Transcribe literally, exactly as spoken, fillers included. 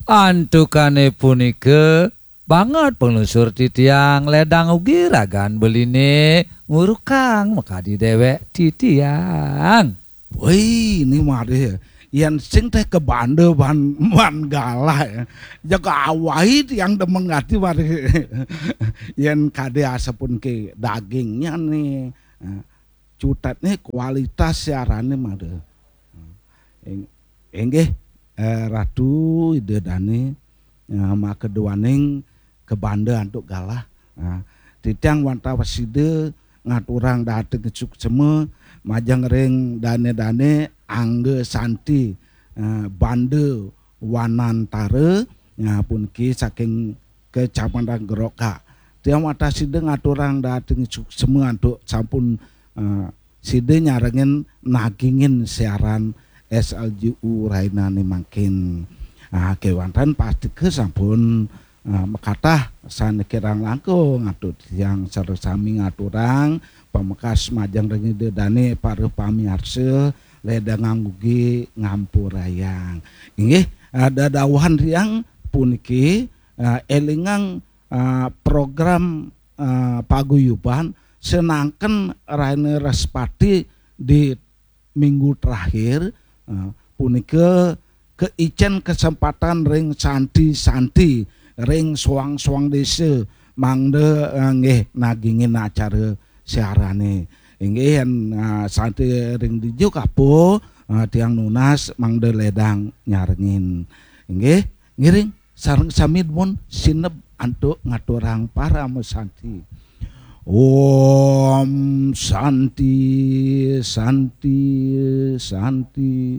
Antukane punika banget panglungsur titiang ledang ugi ragan beline ngurukang makadi dewek titiang. Woi, ini mari yen sing teh kebanda ban, ban galah ya. Jaga awai tiang demen ngati mari. Yen kade asapun ke dagingnya nih. Cutet nih kualitas siarane mari. Ing-, inggih, eh, Ratu Ida Dane, eh, makeduaning kebanda antuk galah. Nah, titiang wantah sida ngaturang dahating suksema majeng ring dane-dane Angga Santi, eh, Banda Wanantara, nah, puniki saking Kecamatan Gerokak. Tiang wantah sida ngaturang dahating suksema antuk sampun, eh, sida nyarengin nagingin siaran S L J U rainane mangkin. Ah, kewanten pastika sampun, ah, makatah sane kirang langkung antuk tiang sareng sami ngaturang pamekas majeng ring Ida Dane para pamiarsa ledang ugi ngampurayang. Inggih, ah, dadawuhan tiang puniki, ah, elingang, ah, program, ah, paguyuban senangken raine Respati di minggu terakhir, eh, punika keicen kesempatan ring santi-santi, ring suang-suang desa, mangda, eh, nggih nagingin acara siarane. Inggih, yen, eh, santi ring dija kapo, eh, tiang nunas mangda ledang nyarengin. Inggih, ngiring sareng sami dumun sineb antuk ngaturang parama santi. Om Santi, Santi, Santi.